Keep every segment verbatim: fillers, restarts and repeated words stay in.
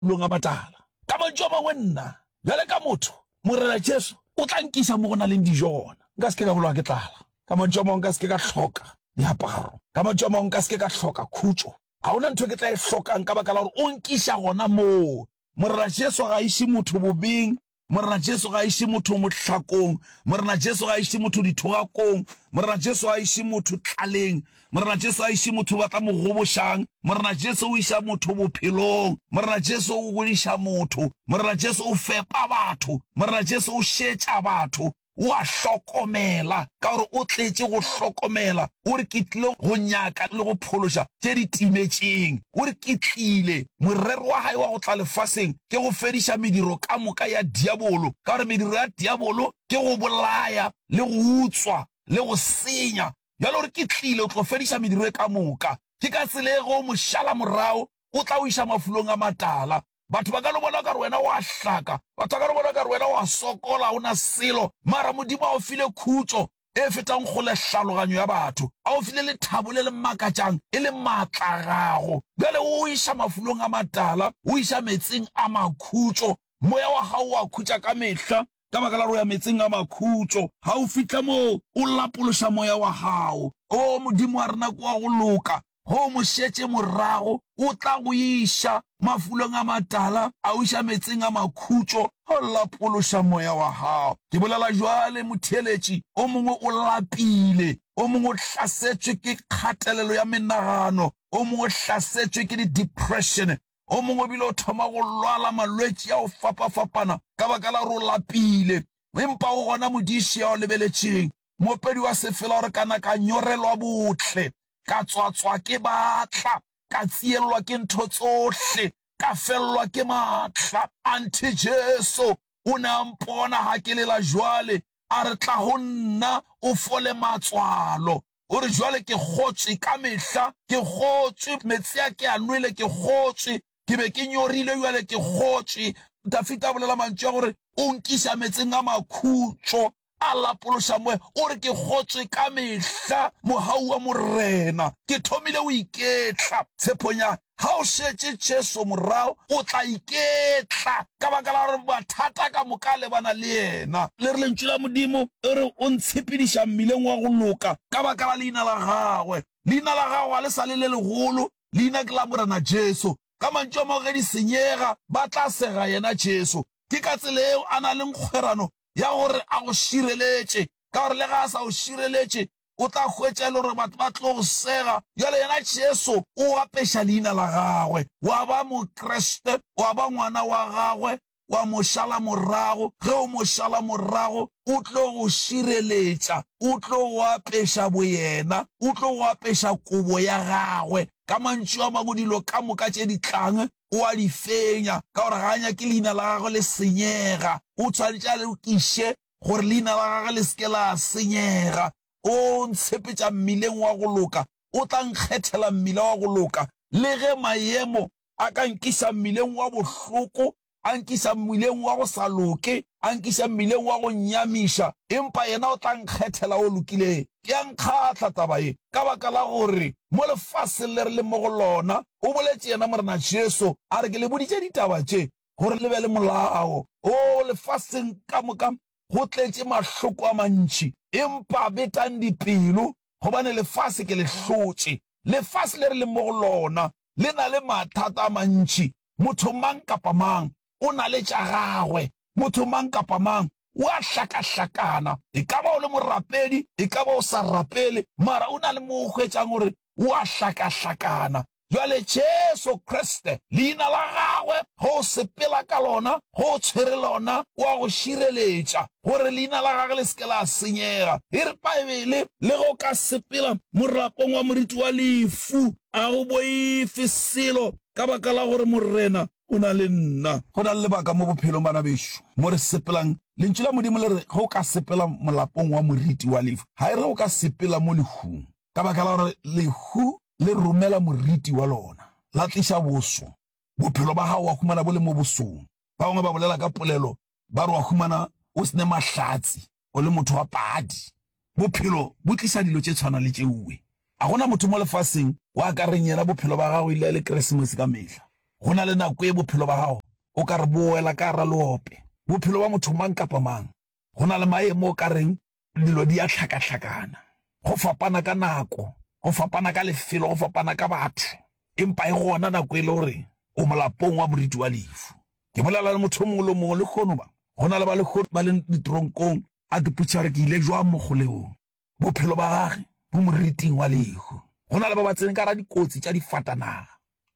mafulong a matala. Ka mantšu a mangwe, nna, bjale ka motho, Morena Jesu o tla nkiša mo go na leng dijo gona. Nka se ke ka bolawa ke tlala. Ka mantšu a mangwe, nka se ke ka hloka diaparo. Ka mantšu a mangwe, nka se ke ka hloka khutšo. Ga go na ntho e ke tla e hlokang ka baka la gore o nkiša gona moo. Morena Jesu ga a iše motho bobeng, Morena Jesu ga a iše motho mohlakong, Morena Jesu ga a iše motho dithogakong, Morena Jesu ga a iše motho tlaleng, Morena Jesu ga a iše motho ba tla mo gobošang, Morena Jesu o iša motho bophelong, Morena Jesu o godiša motho, Morena Jesu o fepa batho, Morena Jesu o šetša batho, O a hlokomela, ka gore o tletše go hlokomela. O re, Ke tlile go nyaka le go phološa tše di timetšeng. O re, Ke tlile. Morero wa Hae wa go tla lefaseng ke go fediša mediro ka moka ya diabolo, ka gore mediro ya diabolo ke go bolaya le go utswa le go senya. Bjale o re, Ke tlile go tlo fediša mediro e ka moka. Ke ka tsela ye ge o mo šala morago, o tla o iša mafulong a matala. Batho ba ka no bona o ka re wena o a hlaka, batho ba ka no bona o ka re wena o a sokola, ga o na selo, mara Modimo a o file khutšo e fetang kgole hlaloganyo ya batho, a o file lethabo le le makatšang e le maatla a gago. Bjale o o iša mafulong a matala, o iša meetseng a makhutšo, moya wa gago o a khutša ka mehla ka baka la gore o ya meetseng a makhutšo. Ga o fihla moo, o lapološa moya wa gago. O Modimo wa rena ke wa go loka, Ge o mo šetše morago, o tla go iša mafulong a matala, a o iša meetseng a makhutšo, go lapološa moya wa gago. Ke bolela bjale, motheeletši, o mongwe o lapile, o mongwe o hlasetšwe ke kgatelelo ya menagano, o mongwe o hlasetšwe ke di-depression, o mongwe o bile o thoma go lwala malwetši a go fapafapana ka baka la gore o lapile. Empa go gona modiši ya o lebeletšeng, moopedi wa sefela o re, Kana ka nyorelwa bohle, Ka tswatswa ke batla, ka tsiellwa ke ntho tsohle, ka fellwa ke matla. Anthe Jesu o ne a mpona ha ke lela jwale, a re, Tla ho nna o fole matswalo. O re, Jwale ke kgotswe ka mehla, ke kgotswe, metsi a ke a nwele, ke kgotswe, ke be ke nyorilwe, bjale ke kgotswe. Dafida a bolela mantšu a gore, O nkiša metseng a makhutšo, A lapološa moya, o re, Ke kgotswe ka mehla mogau wa Morena. Ke thomile go iketla. Tshepong ya ga o šetše Jesu morago, o tla iketla ka baka la gore mathata ka moka a lebana le yena. Le re Lentšu la Modimo e re, O ntshepediša mmileng wa go loka ka baka la leina la gagwe. Leina la gago ga le sa le le legolo, leina ke la Morena Jesu. Ka mantšu a mangwe, ge di senyega, ba tla sega yena Jesu. Ke ka tsela yeo a na leng kgwerano ya gore a go šireletše, ka gore le ge a sa go šireletše, o tla hwetša e le gore batho ba tlo go sega. Bjale yena Jesu o apeša leina la gagwe, wa ba Mokriste, wa ba ngwana wa gagwe, wa mo šala morago. Ge o mo šala morago, o tlo go šireletša, o tlo go apeša boyena, o tlo go apeša kobo ya gagwe. Ka mantšu a mangwe, dilo ka moka tše di tlang o a di fenya, ka gore ga a nyake leina la gagwe le senyega. O tshwanetše a lokiše gore leina la gagwe le se ke la senyega. O ntshepetša mmileng wa go loka, o tla nkgethela mmila wa go loka. Le ge maemo a ka nkiša mmileng wa bohloko, a nkiša mmileng wa go sa loke, a nkiša mmileng wa go nnyamiša, empa yena o tla nkgethela o lokileng. Ke a nkgahla taba ye, ka baka la gore mo lefaseng le re leng mo go lona, o boletše yena Morena Jesu, a re, Ke le boditše ditaba tše, gore le be le molao. Oo, lefaseng ka moka go tletše mahloko a mantši, empa betang dipelo, gobane lefase ke le hlotše. Lefase le re leng mo go lona le na le mathata a mantši. Motho mang kapa mang o na le tša gagwe. Motho mang kapa mang o a hlakahlakana. E ka ba o le morapedi, e ka ba o sa rapele, mara o na le mo o hwetšang gore o a hlakahlakana. Bjale Jesu Kriste, Leina la Gagwe, ge o sepela ka lona, ge o tshwere lona, o a go šireletša, gore Leina la Gagwe le se ke la senyega. E re Paebele, Le ge o ka sepela morapong wa moriti wa lefu, a go boife selo, ka baka la gore Morena o na le nna. Go na le lebaka mo bophelong, bana bešo, mo re sepelang. Lentšu la Modimo le re, Ge o ka sepela molapong wa moriti wa lehu, ga e re o ka sepela mo lehung, ka baka la gore lehu le romela moriti wa lona, la tliša boso. Bophelo ba gago wa humana bo le mo bosong. Ba bangwe ba bolela ka polelo ba re wa humana o se ne mahlatse, o le motho wa padi. Bophelo bo tliša dilo tše tshwana le tšeue. A gona motho mo lefaseng wa ka reng yena bophelo ba gagwe ile le Keresemose ka mehla. Go na le nako e bophelo ba gago o ka re bo wela ka gara leope. Bophelo ba motho mang kapa mang, go na le maemo o ka reng dilo di a hlakahlakana. Go fapana ka nako, go fapana ka lefelo, go fapana ka batho. Empa e gona nako e le gore o molapong wa moriti wa lefu. Ke bolela le motho o mongwe le o mongwe lehono ba. Go na le ba lehono ba leng ditronkong, a ke potšiša gore ke ile jwang mo kgolegong. Bophelo ba gage bo moriting wa lehu. Go na le ba ba tsene ka gara dikotsi tša difatanaga.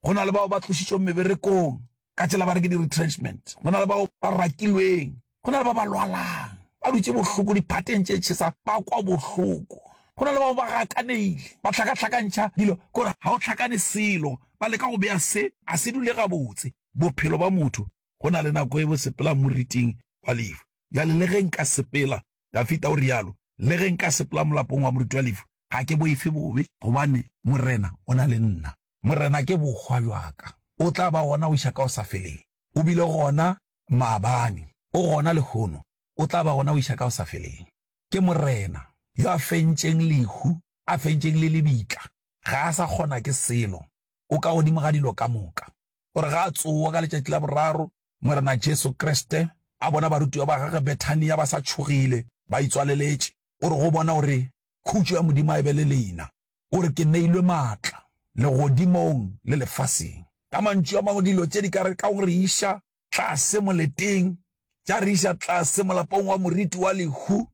Go na le bao ba tlošitšweng meberekong ka tsela ba re ke di-retrenchment. Go na le bao ba rakilweng. Go na le ba ba lwalang, ba dutše bohloko diphateng tše tšhesa, ba kwa bohloko. Go na le bao ba gakaneile, ba hlakahlakantšha dilo, ke gore ga o hlakane selo, ba leka go bea se, a se dule gabotse. Bophelo ba motho, go na le nako e bo sepelang moriting wa lehu. Bjale le ge nka sepela, Dafida o realo, le ge nka sepela molapong wa moriti wa lehu, ga ke boife bobe, gobane Morena o na le nna. Morena ke bohwa bja ka, o tla ba gona go iša ka go sa feleng. O bile gona maabane, o gona lehono, o tla ba gona go iša ka go sa feleng. Ke Morena yo a fentšeng lehu, a fentšeng le lebitla, ga a sa kgona ke selo, o ka godimo ga dilo ka moka. O re ga a tsoga ka letšatši la boraro, Morena Jesu Kriste a bona barutiwa ba gagwe Bethania ba sa tšhogile, ba itswaleletše. O re go bona, o re, Khutšo ya Modimo a e be le lena. O re, Ke neilwe maatla legodimong le lefaseng. Ka mantšu a mangwe, dilo tše di ka re ka go re iša tlase moleteng, tša re iša tlase molapong wa moriti wa lehu,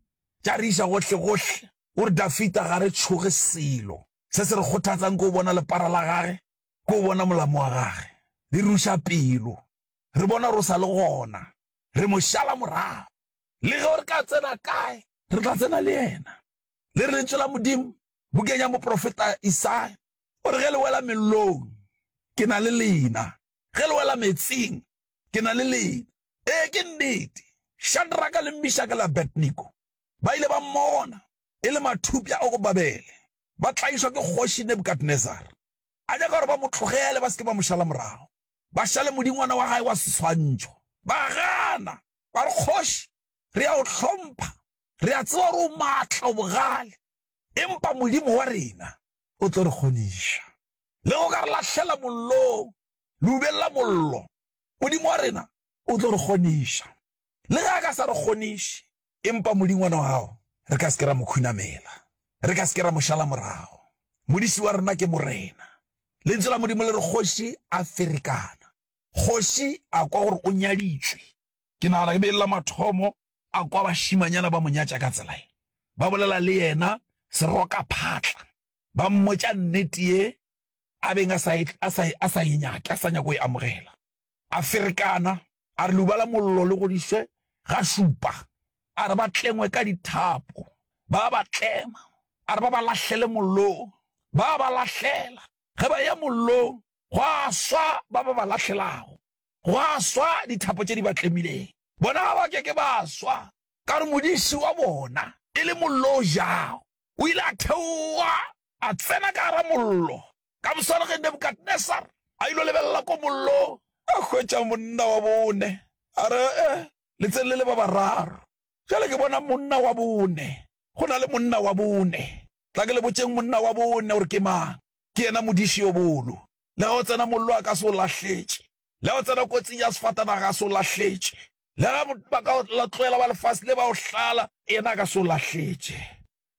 tša re iša gohlegohle. O re, Dafida ga re tšhoge selo. Se se re kgothatsang ke go bona lepara la gage, ke go bona molamo wa gage. Di ruša pelo. Re bona gore o sa le gona. Re mo šala morago. Le ge re ka tsena kae, re tla tsena le yena. Le re Lentšu la Modimo bukeng ya moprofeta Isaya, o re, Ge le wela mellong, ke na le lena. Ge le wela meetseng, ke na le lena. Ee, ke nnete. Shadraka le Mishaka le Abednego ba ile ba mmona e le mathupša a go Babele, ba tlaišwa ke kgoši Nebukadnezara. A nyaka gore ba mo tlogele, ba se ke ba mo šala morago, ba šale modingwana wa gae wa seswantšho. Ba gana, ba re, Kgoši, re a o hlompha, re a tseba gore o maatla, o bogale, empa Modimo wa rena o tlo re kgoniša. Le go ka re lahlela mollong, leubeng la mollo, Modimo wa rena o tlo re kgoniša. Le ge a ka sa re kgoniše, empa modingwana wa gago re ka se ke ra mo khunamela, re ka se ke ra mo šala morago. Modiši wa rena ke Morena. Lentswe la Modimo le re kgoši a ferekana. Kgoši a kwa gore o nyaditšwe. Ke nagana ke be e le la mathomo a kwa bašimanyana ba mo nyatša ka tsela ye. Ba bolela le yena serokaphatla, ba mmotša nnete ye a beng a sa e, a sa, a sa e nyake, a sa nyake go e amogela. A ferekana, a re leuba la mollo le godišwe ga šupa. A re ba tlengwe ka dithapo, ba ba tlema. A re ba ba lahlele mollong, ba ba lahlela. Ge ba eya mollong, gwa swa ba ba ba lahlelago, gwa swa dithapo tše di ba tlemileng. Bona ga ba ke ke ba swa, ka gore modiši wa bona e le mollo o jago. O ile a theoga a tsena ka gara mollo. Ka moswane ge Nebukadnesar a ilo lebelela ko mollong, a hwetša monna wa bone. A re, Eh, le tsene le le ba bararo. Bjale ke bona monna wa bone. Go na le monna wa bone. Tla ke le botšeng monna wa bone gore ke mang. Ke yena modiši yo bolo. Le ge o tsena mollo a ka se o lahletše. Le ge o tsena kotsing ya sefatanaga a se o lahletše. Le ge ba ka o tlohela ba lefase le ba o hlala, yena a ka se o lahletše.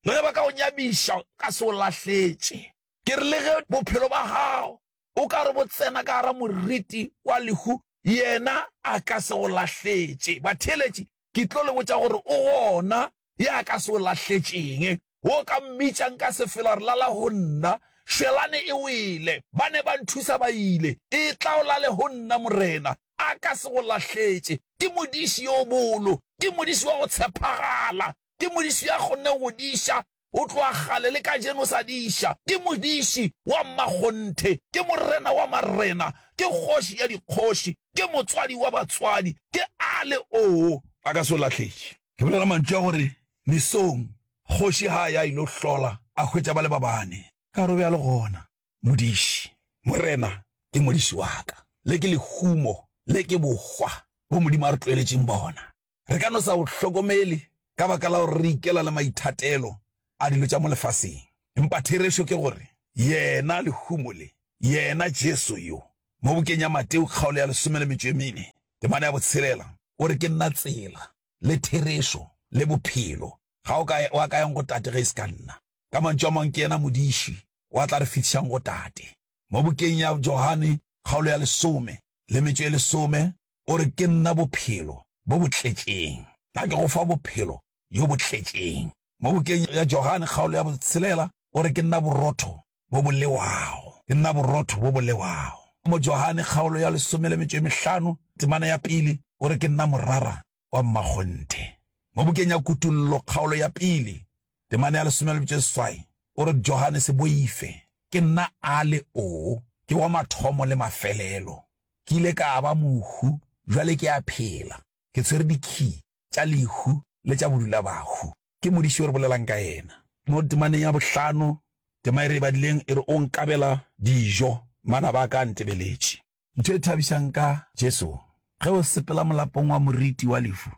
Le ge ba ka o nyamiša, ka se o lahletše. Ke re le ge bophelo ba gago o ka re bo tsena ka gara moriti wa lehu, yena a ka se go lahletše. Batheeletši, ke tlo le botša gore o gona ya ka se o lahletšeng. Wo ka mmitša nka se felo a re lala go nna. Šwelane e wele, ba ne ba nthusa ba ile. Etla o lale go nna, Morena. A ka se go lahletše. Ke modiši yo bolo. Ke modiši wa go tshepagala. Ke modiši ya kgonneng go diša go tloga kgale le kajeno o sa diša. Ke modiši wa mmakgonthe. Ke Morena wa marena. Ke Kgoši ya dikgoši. Ke Motswadi wa batswadi. Ke A le O. A ka se o lahletše. Ke bolela mantšu a gore mesong kgoši ga a ya ilo hlola a hwetša ba le ba bane. Ka gore o be a le gona. Modiši, Morena ke modiši wa ka. Le ke lehumo, le ke bohwa bo Modimo a re tloeletšeng bona. Re ka no sa bo hlokomele ka baka la gore re ikela le maithatelo a dilo tša mo lefaseng. Empa therešo ke gore yena lehumo le, yena Jesu yo, Mo bukeng ya Mateo kgaolo ya lesome le metšo e mene, temana ya botshelela, o re, Ke nna tsela, le therešo, le bophelo. Ga o ka wa ka yang go Tate ge e se ka nna. Ka mantšu a mangwe, ke yena modiši wa tla re fihlišang go Tate. Mo bukeng ya Johane kgaolo ya lesome le metšo e lesome, o re, Ke nna bophelo bo bo tletšeng. Nna ke go fa bophelo bjo bo tletšeng. Mo bukeng ya Johane kgaolo ya botshelela, o re, Ke nna borotho bo bo lewago. Ke nna borotho bo bo lewago. Mo Johane kgaolo ya lesome le metšo e mehlano, temana ya pele, o re, Ke nna morara wa mmakgonthe. Mo bukeng ya Kutollo kgaolo ya pele, temana ya lesome le metšo e seswai, o re, Johane, se boife, ke nna A le O, ke wa mathomo le mafelelo. Ke ile ka ba mohu, bjale ke a phela, ke tshwere dikhii tša lehu le tša bodulabahu. Ke modiši yo re bolelang ka yena. Mo temaneng ya bohlano, tema e re e badileng e re, O nkabela dijo, manaba a ka a ntebeletše. Ntho e thabišang ka Jesu, ge o sepela molapong wa moriti wa lehu,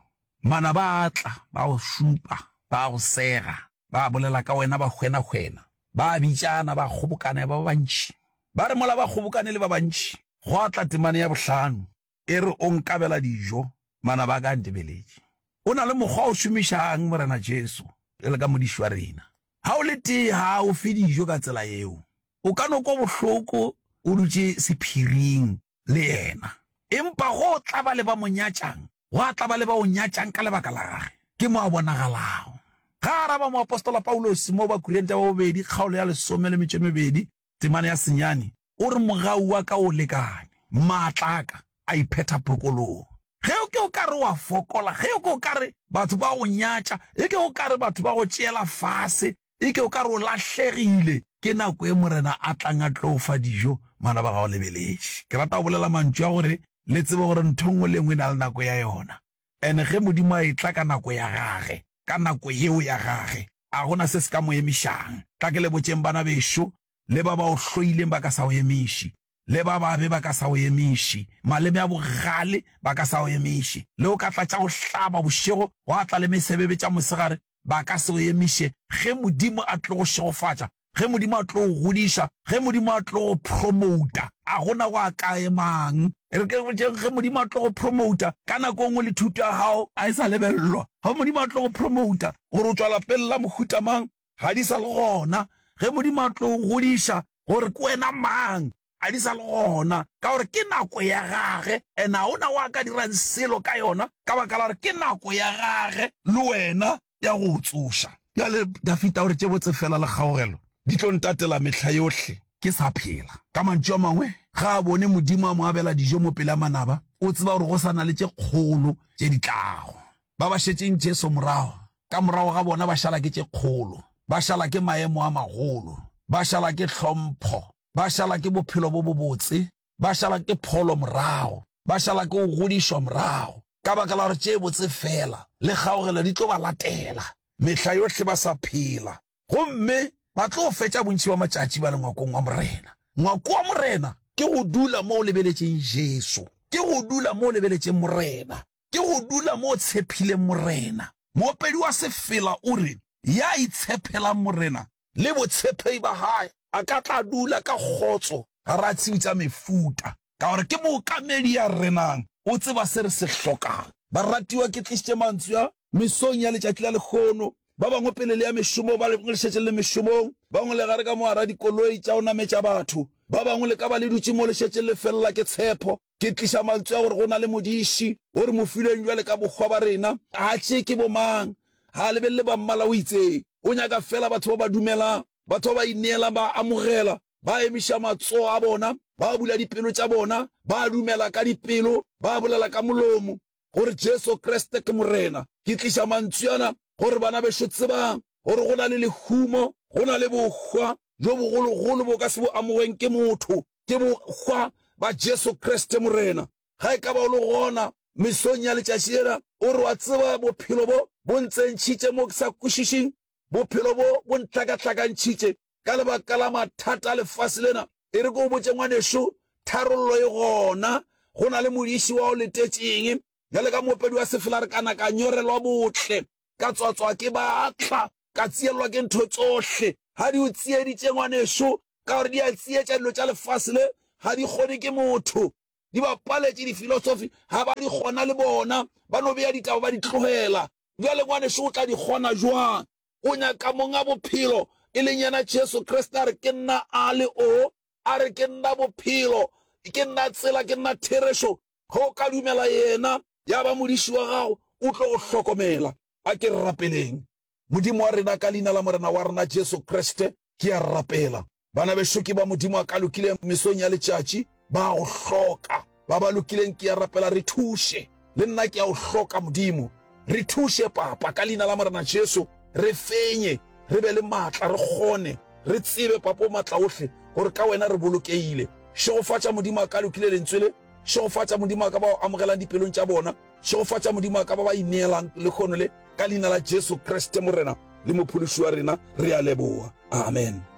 manaba a tla, ba go šupa, ba go sega, ba bolela ka wena ba hwenahwena, ba bitšana, ba kgobokana ya ba ba bantši. Ba re mola ba kgobokane le ba bantši, gwa tla temana ya bohlano e re, O nkabela dijo, manaba a ka a ntebeletše. O na le mokgwa o šomišang, Morena Jesu, bjalo ka modiši wa rena. Ga o le tee, ga a o fe dijo ka tsela yeo. O ka no kwa bohloko o dutše sephiring le yena. Empa go tla ba le ba mo nyatšang, gwa tla ba le ba o nyatšang ka lebaka la gage. Ke mo a bonagalago. Ga a araba moapostola Paulose mo Bakorinthe ba bobedi kgaolo ya lesome le metšo e mebedi temana ya senyane, o re, Mogau wa ka o lekane, maatla a ka a iphetha phokolong. Ge o ke o ka re wa fokola, ge o ke o ka re batho ba go nyatša, e ke o ka re batho ba go tšeela fase, e ke o ka re o lahlegile, ke nako e Morena a tlang a tlo o fa dijo, manaba ga o lebeletše. Ke rata go bolela mantšu a gore le tsebe gore ntho nngwe le nngwe e na le nako ya yona. And ge Modimo a etla ka nako ya gage, ka nako yeo ya gage, a gona se se ka mo emišang. Tla ke le botšeng bana bešo, le ba ba o hloileng ba ka sa o emiše, le ba babe ba ka sa o emiše, maleme a bogale ba ka sa o emiše, le o ka tla tša go hlaba bošego, gwa tla le mesebebe tša mosegare, ba ka se o emiše. Ge Modimo a tlo go šegofatša, ge Modimo a tlo go godiša, ge Modimo a tlo go promouta, a gona go a ka emang. E re ke botšeng, ge Modimo a tlo go promouta, ka nako e nngwe le thuto ya gago a e sa lebelelwa. Ge Modimo a tlo go promouta, gore o tšwa lapeng la mohuta mang, ga di sa le gona. Ge Modimo a tlo go godiša, gore ke wena mang, ga di sa le gona, ka gore ke nako ya gage, and ga ona wa ka dirang selo ka yona, ka baka la gore ke nako ya gage le wena ya go o tsoša. Bjale Dafida o re, Tše botse feela le kgaogelo di tlo ntatela mehla yohle ke sa phela. Ka mantšu a mangwe, ge a bone Modimo a mo abela dijo mo pele a manaba, o tseba gore go sa na le tše kgolo tše di tlago. Ba ba šetšeng Jesu morago, ka morago ga bona ba šala ke tše kgolo, ba šala ke maemo a magolo, ba šala ke hlompho, ba šala ke bophelo bo bobotse, ba šala ke pholo morago, ba šala ke go godišwa morago, ka baka la gore tše botse feela le kgaogelo di tlo ba latela mehla yohle ba sa phela, gomme ba tlo fetša bontši bja matšatši ba le ngwakong wa Morena. Ngwako wa Morena ke go dula mo o lebeletšeng Jesu, ke go dula mo o lebeletšeng Morena, ke go dula mo o tshephileng Morena. Moopedi wa sefela o re, Ya itshephelang Morena le botshephei ba gae a ka tla dula ka kgotso gara tshiu tša mefuta, ka gore ke mookamedi ya renang, o tseba se re se hlokang. Baratiwa, ke tlišitše mantswe a mesong ya letšatši la lehono. Ba bangwe pele le ya mešomong, ba bangwe le šetše le le mešomong, ba bangwe le gare ka mo gara dikoloi tša go nametša batho, ba bangwe le ka ba le dutše mo le šetše le felela ke tshepo. Ke tliša mantswe a gore go na le modiši o re mo filweng bjale ka bohwa ba rena. Ga tšee ke bomang, ga a lebelele ba mmala o itseng. O nyaka feela batho ba ba dumelang, batho ba ba ineelang, ba amogela, ba emiša matsogo a bona, ba bula dipelo tša bona, ba dumela ka dipelo, ba bolela ka molomo gore Jesu Kriste ke Morena. Ke tliša mantšu ana gore bana bešo tsebang gore go na le lehumo, go na le bohwa bjo bogologolo bo ka se bo amogweng ke motho, ke bohwa ba Jesu Kriste Morena. Ga e ka ba o le gona mesong ya letšatši lela, o re, Wa tseba, bophelo bo bo ntsentšhitše mo ke sa kwešišeng. Bophelo bo bo ntlhakahlakantšhitše ka lebaka la mathata a lefase lena. E re ke o botše, ngwanešo, tharollo e gona. Go na le modiši wa o letetšeng. Bjale ka moopedi wa sefela re kana ka nyorelwa botle, ka tswatswa ke batla, ka tsielelwa ke ntho tsohle. Ga di o tsieditše, ngwanešo, ka gore di a tsietša dilo tša lefase le, Ga di kgone ke motho. Di ba paletše difilosofi, ga ba di kgona le bona. Ba no bea ditaba ba di tlogela. Bjale ngwanešu o tla di kgona jwang? O nyaka Monga Bophelo, e leng yena Jesu Kriste, a re, Ke nna A le O. A re, Ke nna Bophelo. Ke nna Tsela. Ke nna Therešo. Ge o ka dumela Yena, ya ba Modiši wa gago, O tlo go hlokomela. A ke re rapeleng. Modimo wa rena, ka Leina la Morena wa rena Jesu Kriste, ke a rapela. Bana bešo ke ba Modimo a ka lokileng mesong ya letšatši, ba a go hloka. Ba ba lokileng, ke a rapela, re thuše. Le nna ke a o hloka, Modimo. Re thuše, Papa, ka Leina la Morena Jesu, re fenye, re be le maatla, re kgone, re tsebe, Papa o Maatlaohle, gore ka Wena re bolokehile. Šegofatša, Modimo a ka lokile Lentswe le. Šegofatša, Modimo wa ka, ba o amogelang dipelong tša bona. Šegofatša, Modimo wa ka, ba ba ineelang lehono le, ka Leina la Jesu Kriste, Morena le Mophološi wa rena, re a leboga. Amen.